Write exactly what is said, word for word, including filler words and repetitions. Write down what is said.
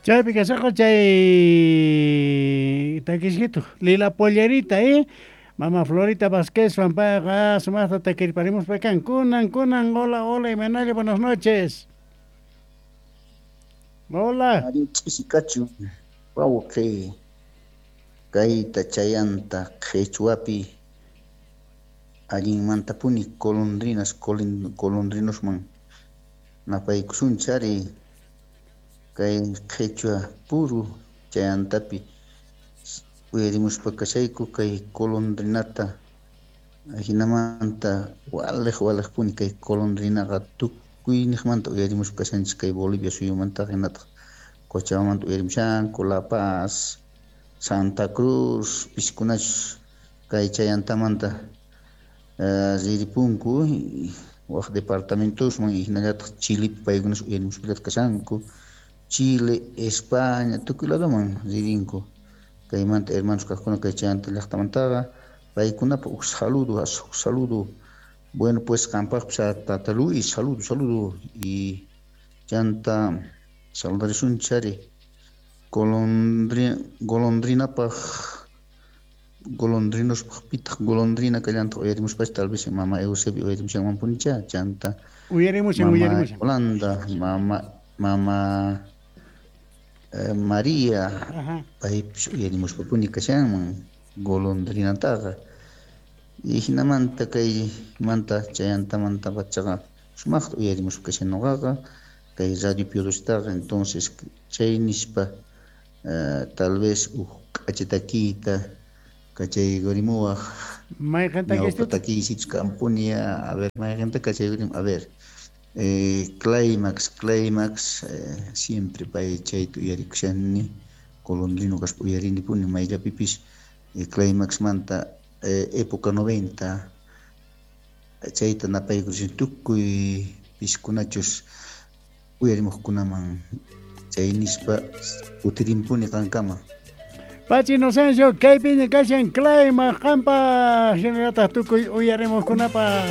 Chaypi kashaqa chay takisqitu Lila Pollerita, eh? Mama Florita Vázquez payqa sumaqta takirparimuspa kan. Kunan, kunan, hola, hola, imaynalla, buenas noches. Hola. Ari ch'isi kachun wawqi kayta chayanta qhichwapi allinmantapuni golondrinas golondrinosman napaykusunchik ari kay qhichwa puru chayantapi uyarimuspa kashayku kay golondrinata ajinamanta waliq waliqpuni kay golondrinaqa tukuyniqmanta uyarimuspa kashanchik kay Bolivia suyumantaqa hinataq Cochabambamanta uyarimushanku La Paz, Santa Cruz piskunachus kay chayantamanta riripunku waq departamentosman hinallataq Chilepi paykunas uyarimuspallataq kashanku Chile, España tukuy ladoman ririnku kaymanta hermanos kaqkuna kay chayanta llaqtamantaqa paykunapaq huk saludo huk saludo bueno pues qampaqpis tata Luis saludo saludo y chanta saludarisunchik ari golondri golondrinapaq golondrinospaq pitaq golondrina kallantaq uyarimuspacha tal vez mama Eusebio uyarimushanmanpunicha chanta Uyarimushan, mama uyarimushan. Yolanda mama mama eh, María Ajá. paypis uyarimuspapuni kashanman golondrinataqa y hinamanta kaymanta chayantamanta pachaqa sumaqta uyarimuspa kashan nuqaqa kay radio Piodostaqa entonces chay nispa eh, tal vez huk k'acha takiyta kachaykurimuwaq Mayqin ñawpa takisqita? takiysichus kanpuni a ver mayqinta kachaykurim a ver eh, Climax Climax eh, siempre pay chayta uyarikushani golondrino kaspa uyarinipuni mayllapipis eh, Climaxmanta eh, época noventa chayta napaykurishan tukuy piskunachus uyarimuqkunaman chay nispa utirimpuni qankama. Pachi Inocencio, kaypiña kashan Climax qampa hinallataq tukuy uyarimuqkunapaq.